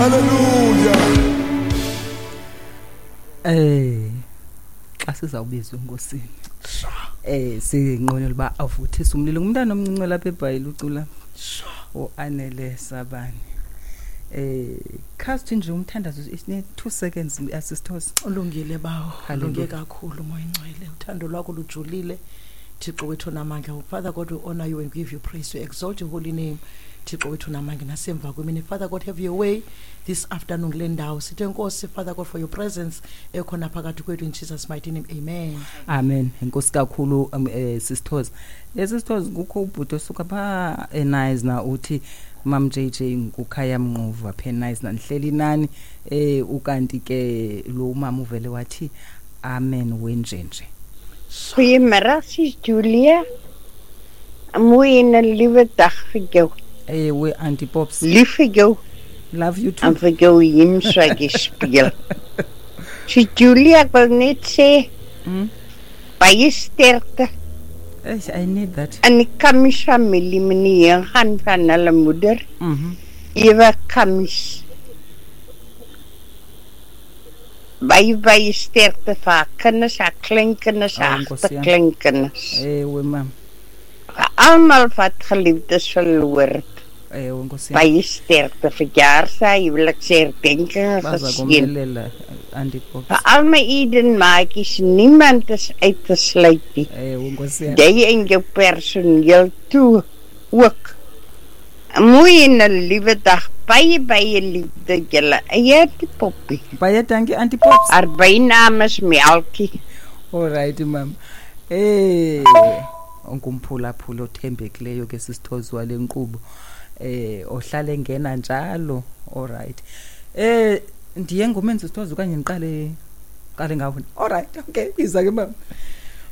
Hallelujah. Xa sizawubizwa enkosini. Sinqwenela uba avuthise umlilo. Ngumntana omncinci lapha eBhayile ucula. Uanele Sabani. Cast nje umthandazo isine 2 seconds asisithosi. Ulungile bawo, Hallelujah. ulunge kakhulu Moya Ngcwele. Uthando lwakho lujulile. Thixo wethu namandla. Father God, we honor you and give you praise. We exalt your holy name. Thixo wethu namandla nasemva kwemini. Father God, have your way this afternoon kule ndawo. Sithe Nkosi, Father God, for your presence ekhona phakathi kwethu in Jesus mighty name. Amen. Amen. Enkosi kakhulu sisithozi. Lesisithozi kukho ubhuti osuka pha eNaisna uthi Mam JJ ngukhaya Mnquva phe eNaisna nihleli nani ukanti ke lo mama uvele wathi amen wenjenje. Goeiemiddag, sis Julia. 'n Mooi en 'n liewe dag vir jou. Ewe Auntie Pops. Lief vir jou. Love you too. En vir jou hymns wat jy speel. Sis Julia, ek wil net sê, baie sterkte. Eish, I need that. In die Kammies familie, meneer gaan van hulle moeder. Ewa Kammies. Baie, baie sterkte vir haar kinders, haar kleinkinders, haar Oh, Nkosi yami. agterkleinkinders. Ewe mam. Vir almal wat geliefdes verloor het. Ewe Nkosi yami. Baie sterkte vir jaarsa, huweliksherdenkinge Baza geseën. komelela Auntie Pops. Vir al my Eden maatjies, niemand is uit te sluit nie. Ewe Nkosi yami. Jy en jou personeel toe ook. 'n Mooi en 'n liewe dag. Baie, baie liefde julle. Eie Auntie Poppie. Baie dankie Auntie Pops. Haar bynaam is Melkie. Alright mam. Ungumphulaphula othembekileyo ke sisithozi wale nkqubo. Ohlale engena njalo. Alright. Ndiye ngomenzi sithozi okanye ndiqale qale ngawo. Alright, okay, iza ke mama.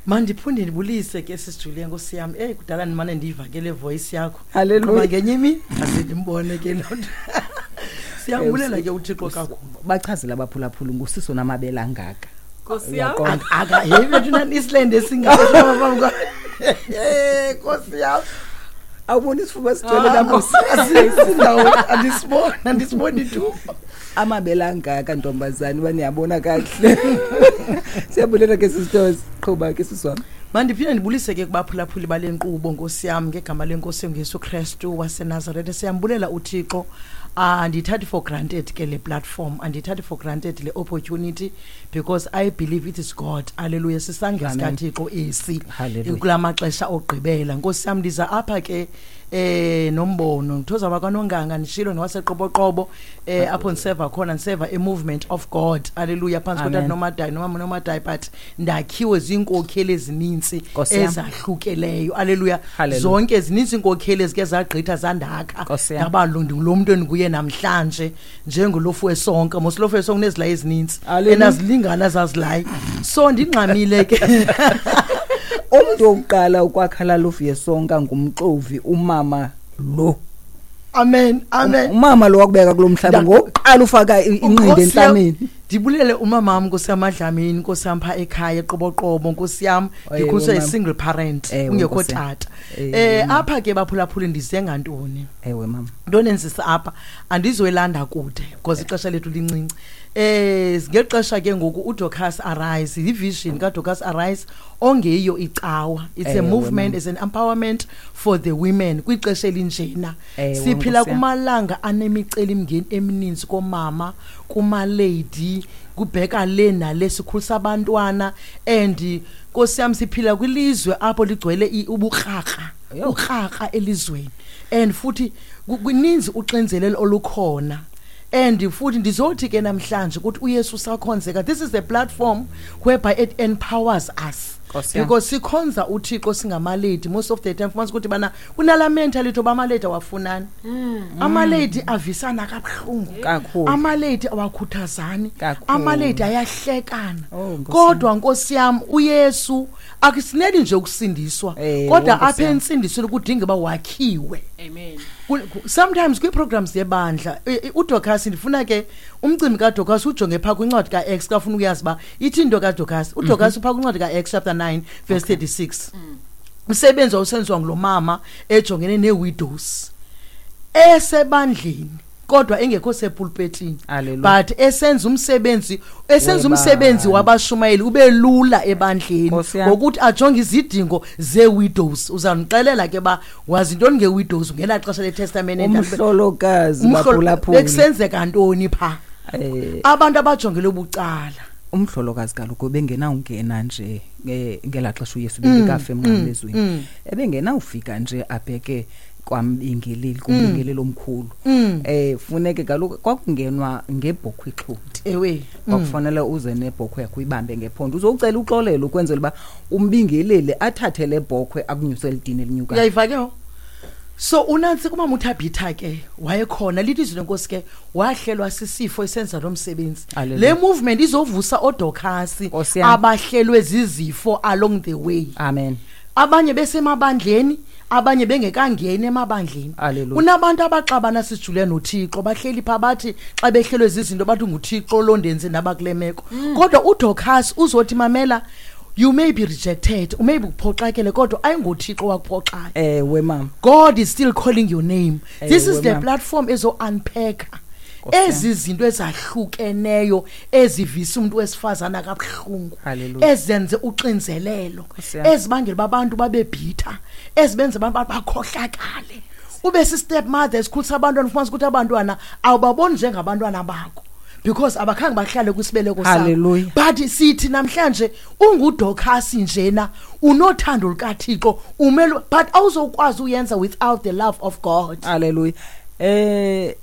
Mandiphinde ndibulise ke sisi Julia Nkosi yam. Kudala ndimane ndiva ke le voice yakho. Hallelujah. Ngoba ngenye imini aze ndimbone ke loo nto. Siyambulela ke uThixo kakhulu. Bachazela abaphulaphula ngusiso namabele angaka. Nkosi yam. Uyaqonda. Aka, hey bethu nani Island esingaka. Nkosi yam. Awuboni isifuba sigcwele lapho. Sindawo andisiboni, andisiboni tu. Amabele angaka ntombazana uba niyabona kakuhle. Siyabulela ke sisithozi. Qhuba ke sisi wam. Mandiphinde ndibulise ke kubaphulaphuli bale nkqubo Nkosi yam ngegama lenkosi uYesu Kristu waseNazaretha. Siyambulela uThixo. Andiyithathi for granted ke le platform, andiyithathi for granted le opportunity because I believe it is God. Hallelujah. Sisandla Amen. sikaThixo esi Hallelujah. kula maxesha ogqibela. Nkosi yam ndiza apha ke nombono ngithoza bakwanonganga ndishilo nowaseqoboqobo apho ndiseva khona ndiseva e-movement of God. Hallelujah. Phantsi Amen. kotata Nomadayi nomama Nomadayi, but ndakhiwe ziinkokheli ezinintsi Nkosi yam. ezahlukeleyo. Hallelujah. Hallelujah. Zonke zininzi iinkokheli ezike zagqitha zandakha. Nkosi yam. Ndaba lo mntu endinguye namhlanje njengolofu wesonka. Mos lofu wesonka unezilayi ezinintsi. Hallelujah. Enazilingana zazilayi. So ndingxamile ke. Umntu wokuqala ukwakha laa lofu yesonka ngumxovi umama lo. Amen. Amen. Umama lo wakubeka kulo mhlaba ngokuqala ufaka inqindi Nkosi yam, entlameni. Ndibulele umama wam Nkosi yam Madlamini, Nkosi yam pha ekhaya eQoboqobo, Nkosi yam Ewe, ndikhuliswe mama. yi-single parent, Ewe, kungekho Nkosi yam. tata. Ewe, mama. Apha ke baphulaphuli ndize ngantoni? Ewe mama. Ntoni endizisa apha? Andizoyilanda kude because ixesha lethu lincinci. Ngexesha ke ngoku uDorcas Arise, yi-vision kaDorcas Arise ongeyiyo icawa. It's a Ewe, movement, mama. it's an empowerment for the women kwixesha elinjena. Ewe, Siphila Nkosi yam. kumalanga anemicelimngeni emininzi komama, kumalady, kubheka le nale, sikhulisa abantwana and Nkosi yam siphila kwilizwe apho ligcwele ubukrakra, Yho. ukrakra elizweni. And futhi kuninzi uxinzelelo olukhona. And futhi ndizothi ke namhlanje ukuthi uYesu usakhonzeka. This is the platform whereby it empowers us. Nkosi yam. Because sikhonza uThixo singamalady most of the time fumanisa ukuthi bana kunala mentality oba amalady awafunani. Amalady avisana kabuhlungu. Kakhulu. Amalady awakhuthazani. Kakhulu. Amalady ayahlekana. Oh, Nkosi Kodwa Nkosi yam uYesu akusineli nje ukusindiswa Ewe, kodwa Nkosi apha yam. entsindisweni kudinga uba wakhiwe. Amen. Sometimes kwii-programs yebandla uDorcas ndifuna ke umcimbi kaDorcas ujonge phaa kwincwadi ka-Acts kafuna ukuyazi uba ithi into kaDorcas. UDorcas uphaa kwincwadi ka-Acts chapter 9 verse 36. Umsebenzi wawusenziwa ngulo mama ejongene nee-widows esebandleni. Kodwa engekho sepulpetini, Hallelujah. but esenza umsebenzi, esenza umsebenzi Webandla. wabashumayeli ube lula ebandleni, Nkosi yam. ngokuthi ajonge izidingo zee-widows. Uzandixelela ke ba wazi ntoni nge-widows ngelaa xesha leTestament Endala? Umhlolokazi, baphulaphula. Bekusenzeka ntoni phaa? Abantu abajongele bucala. Umhlolokazi kaloku bengenawungena nje ngelaa xesha uYesu bengekafi emnqamlezweni, ebengenawufika nje abheke kwambingeleli, kumbingeleli omkhulu. Funeke kaloku kwakungenwa ngebhokhwe ixhonti. Kwakufanele uze nebhokhwe yakho, uyibambe ngephondo, uzocela uxolelo ukwenzela uba umbingeleli athathe le bhokhwe akunyuse elidini elinyukayo. Uyayiva ke ho? So unantsi kumama uThabitha ke wayekhona, lithi izwi lenkosi ke wahlelwa sisifo esenza lo msebenzi. Hallelujah. Le movement izovusa oDorcas Nkosi yam. abahlelwe zizifo along the way. Amen. Abanye besemabandleni, abanye bengekangeni emabandleni. Hallelujah. Unabantu abaxabana sijule noThixo, bahleli pha, bathi xa behlelwe zizinto bathi nguThixo lo ndenze naba kule meko. Kodwa uDorcas uzothi, mamela, you may be rejected, you may be uphoxakele, kodwa ayingoThixo wakuphoxayo. Ewe mama. God is still calling your name. This is Ewe, the mama. platform ezo unpack Nkosi yam. ezi zinto ezahlukeneyo ezivisa umuntu wesifazana kabuhlungu, Hallelujah. ezenze uxinzelelo, Nkosi yam. ezibangela uba abantu babe bitter, ezibenza abantu bakhohlakale, ube si-step mother esikhulisa abantwana, ufumanisa ukuthi abantwana awubaboni njengabantwana bakho because abakhange bahlale kwisibeleko sakho. Hallelujah. But sithi namhlanje unguDorcas njena, unothando lukaThixo, umele, but awuzokwazi uyenza without the love of God. Hallelujah.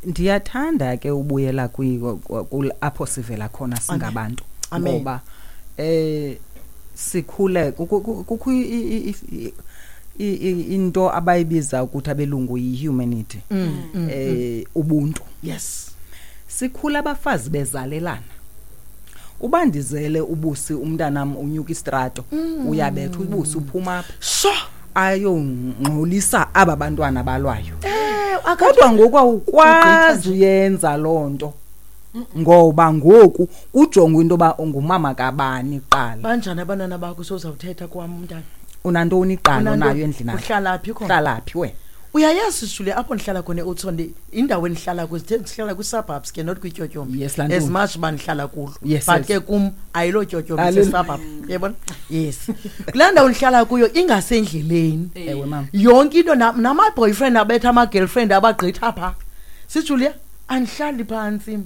Ndiyathanda ke ubuyela apho sivela khona singabantu. Amen. Ngoba sikhule kukho into abayibiza ukuthi abelungu yi-humanity, ubuntu. Sikhula abafazi bezalelana. Uba ndizele ubusi, umntanam unyuka istrato, uyabetha ubusi, uphuma apha ayongxolisa aba bantwana balwayo. Kodwa ngoku awukwazi uyenza loo nto, ngoba ngoku kujongwa into yoba ungumama kabani kuqala. Banjani abantwana bakho? Sozawuthetha kwam umntana. Unantoni kuqala onayo endlini yakho? Uhlala phi khona? Uhlala phi wena? Uyayazi sijule apho ndihlala khona eOudtshoorn, indawo endihlala kuyo, sithe sihlala kwi-suburbs ke, not kwityotyombe. Yes, laa As ntombi. much uba ndihlala kulo, but ke kum ayilo tyotyombe, Hallelujah. suburb, uyabona? Yes, kulaa ndawo ndihlala kuyo ingasendleleni. Ewe mama. Yonke into nama-boyfriend abetha ama-girlfriend abagqitha phaa, sijulia, andihlali phantsi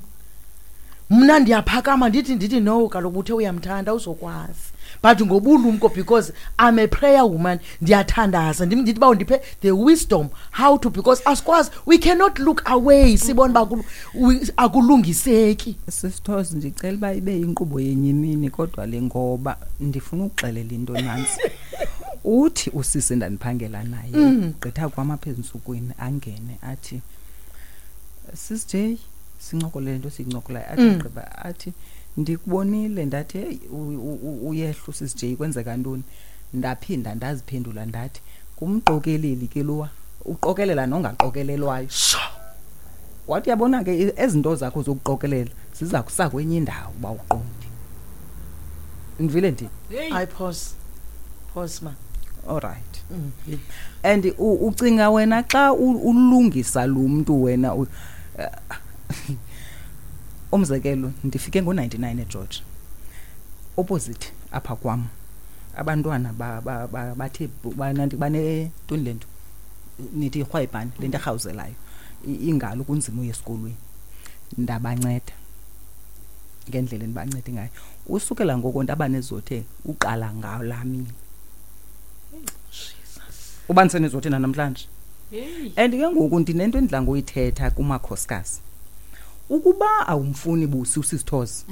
mna, ndiyaphakama, ndithi no, kaloku uthe uyamthanda uzokwazi, but ngobulumko, because I'm a prayer woman, ndiyathandaza, ndithi uba undiphe the wisdom how to, because asikwazi, we cannot look away sibone uba akulungiseki. Sisithozi, ndicela uba ibe yinkqubo yenye imini kodwa le, ngoba ndifuna ukuxelela into nantsi. Uthi usisi endandiphangela naye, gqitha kwam apha ezintsukwini, angene athi, "Sis J," sincokole le nto siyincokolayo, athi gqiba athi, "Ndikubonile." Ndathi, "Heyi, uyehla uSis J, kwenzeka ntoni?" Ndaphinda ndaziphendula ndathi, "Ngumqokeleli ke lowa, uqokelela nongaqokelelwayo." Wathi, "Uyabona ke, ezi nto zakho zokuqokelela ziza kusa kwenye indawo uba uqondi." Ndivile ndi Hey. Hayi, pause, pause ma. All right. And ucinga wena xa ulungisa lo mntu wena umzekelo, ndifike ngo-99 eGeorge, opposite apha kwam abantwana bathe banentoni le nto nithi irhwayibhani, le nto erhawuzelayo, ingalo kunzima uye esikolweni. Ndabanceda ngendlela endibancede ngayo, usukela ngoko ndabanezothe uqala ngalaa mini uba ndisenezothe nanamhlanje. Hey. And ke ngoku ndinento endidla ngoyithetha kumakhosikazi, ukuba awumfuni busi usisithozi,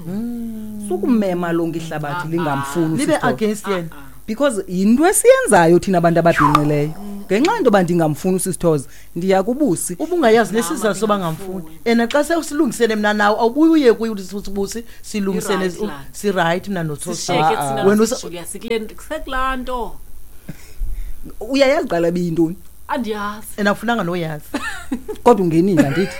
sukumema lonke ihlabathi lingamfuni Libe usisithozi. against yena. Because yinto esiyenzayo thina abantu ababhinqileyo. Ngenxa yento yoba ndingamfuni usisithozi, ndiya kubusi. Ubungayazi nesizathu soba ngamfuni, and xa sewusilungisene mna nawe, awubuye uye kuye uthi, "Sibusi, silungisene." I-right laa. Sirayithi mna noThosi. Sishiyeke thina. Wena Julia, sekulaa nto. Uyayazi qala biyintoni? Andiyazi. And awufunanga noyazi. Kodwa ungenile, andithi?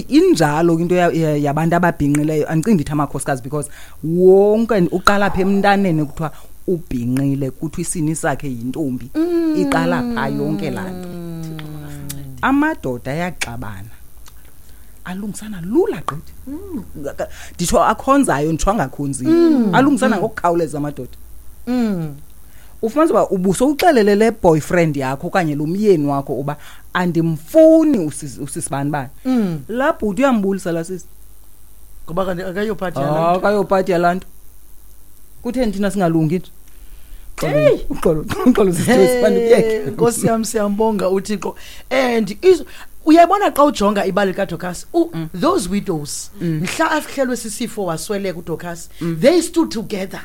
Injalo into yabantu ababhinqileyo. Andicingi ndithi amakhosikazi, because wonke uqala apha emntaneni, kuthiwa ubhinqile, kuthiwa isini sakhe yintombi, iqala phaa yonke laa nto. Thixo makasincede. Amadoda ayaxabana, alungisana lula gqithi. Nditsho akhonzayo, nditsho angakhonziyo, alungisana ngokukhawuleza amadoda. Ufumanisa uba ubusowuxelele le boyfriend yakho okanye lo myeni wakho uba andimfuni usisibani bani. Laa bhuti uyambulisa laa sisi. Ngoba kanti akayophathi. Ah, akayopati yalaa nto. Kutheni thina singalungi nje? Uxolo, uxolo, sisi, bandikuyeke. Nkosi yam, siyambonga uThixo. And uyabona xa ujonga ibali likaDorcas, those widows, mhla afihlelwe sisifo wasweleka uDorcas, they stood together.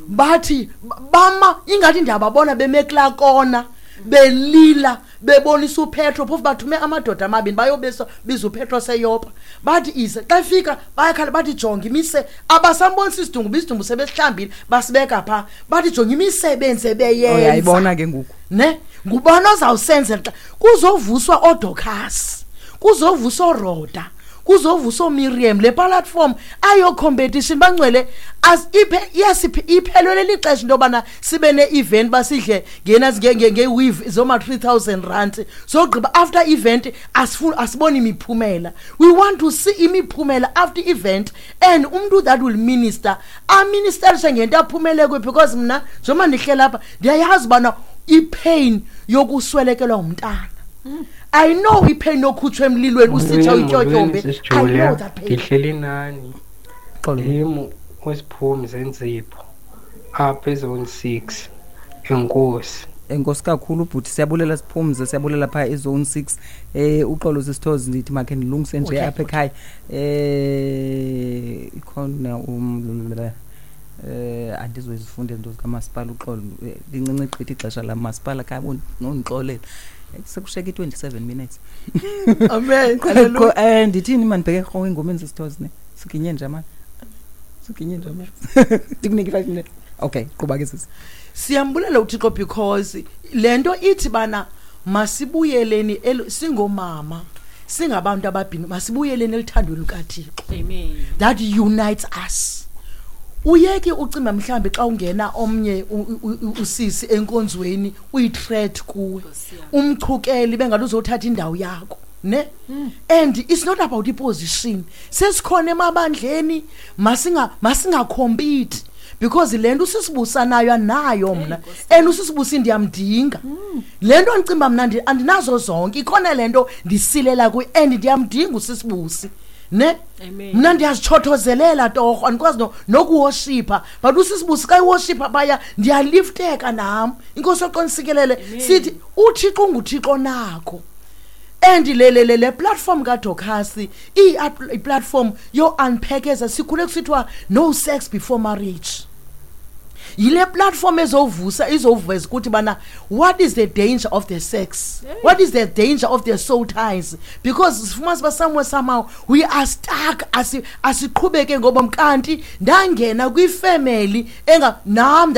Bathi bama ingathi ndiyababona beme kulaa kona belila, bebonisa uPetro. Phofu bathume amadoda amabini bayobisa biza uPetro seYopa. Bathi ize xa efika bayakhala, bathi jonga imise, abasambonisa isidumbu, isidumbu sebesihlambile basibeka phaa. Bathi jonga imisebenzi ebeyenza. Uyayibona ke ngoku. Ne ngubani ozawusenzela xa kuzovuswa oDorcas, kuzovuswa oRhoda, kuzovuswa oMiriam? Le platform ayo competition, bangcwele. Iphe iyasiphi iphelelwe lixesha into yobana sibe ne-event, basidle ngena nge-weave zoma 3000 rand, sogqiba after event asiboni imiphumela. We want to see imiphumela after event, and umntu that will minister aministerishe ngento aphumele kuyo, because mna njengoba ndihleli apha ndiyayazi ubana ipain yokuswelekelwa ngumntana, I know ipain yokhutshwa emlilweni usitsha utyotyombe. Sis I know Julia, that pain. Ndihleli nani. Xolo. Ndim uSiphumi Zenzipho apha ezone 6. Enkosi. Enkosi kakhulu bhuti, siyabulela Siphumze, siyabulela phaa ezone 6. Uxolo sisithozi, ndithi makhe ndilungise nje apha ekhaya. Ikhona andizoyizifunda izinto zikamasipala, uxolo. Lincinci gqithi ixesha lamasipala, khaya nondixolela. Sekushiyeke i-27 minutes. Amen. Hallelujah. Ndithini, mandibheke rhoqo engomeni sisithozi ne siginye nje amani, siginye nje amani, ndikunike i-5 minutes. Okay, qhuba ke sisi. Siyambulela uThixo because le nto ithi bana masibuyeleni singomama, singabantu ababhini, masibuyeleni eluthandweni lukaThixo. Amen. That unites us. Uyeke ucimba mhlambi xa ungena omnye usisi enkonzweni uyi-threat kuwe, Nkosi yam. umchukeli bengathi uzothatha indawo yakho, ne. And it's not about iposition. Sesikhona emabandleni, masingacompete because le nto usisibusa nayo anayo mna, and usisibusi ndiyamdinga. Le nto ndicimba mna andinazo zonke, ikhona le nto ndisilela kuyo and ndiyamdinga usisibusi, ne. Amen. Mna ndiyazitshothozelela torho, andikwazi nokuwoshipha, but usisibusi xa iwoshipha phaya ndiyalifteka nam. Inkosi yoqonisikelele. Sithi uThixo unguThixo nakho, and le platform kaDorcas iyi-platform yo-unpackeza. Sikhule kusithiwa no sex before marriage. Yile platform ezovusa, izoveza ukuthi bana what is the danger of the sex, what is the danger of the soul ties, because sifumanisa uba somewhere somehow we are stuck. Asiqhubeke ngoba kanti ndangena kwifemeli enga nam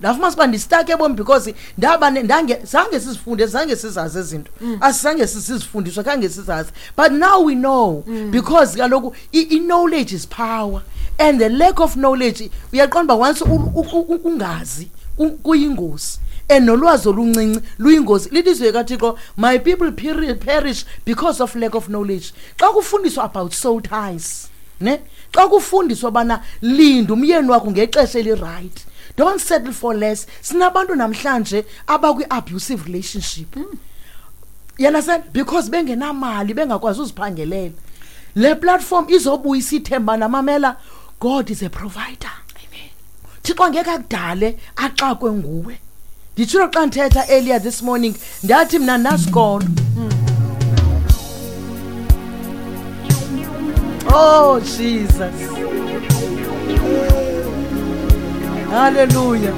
ndafumanisa uba ndistuck ebomi because ndaba ndange zange sizifunde, zange sizazi izinto, asizange sizifundiswe, khange sizazi, but now we know because kaloku i-knowledge is power and the lack of knowledge, uyaqonda uba once ungazi kuyingozi, and nolwazi oluncinci luyingozi. Lithi izwi kaThixo, my people perish because of lack of knowledge. Xa kufundiswa about soul ties, ne, xa kufundiswa bana linda umyeni wakho ngexesha eliright, don't settle for less. Sinabantu namhlanje abakwi-abusive relationship, you understand, because bengenamali, bengakwazi uziphangelela. Le platform izobuyisa ithemba namamela, God is a provider. Amen. Thixo angeke akudale axakwe nguwe. Nditshilo xa ndithetha earlier this morning, ndathi mna nasikolo. Oh Jesus, hallelujah.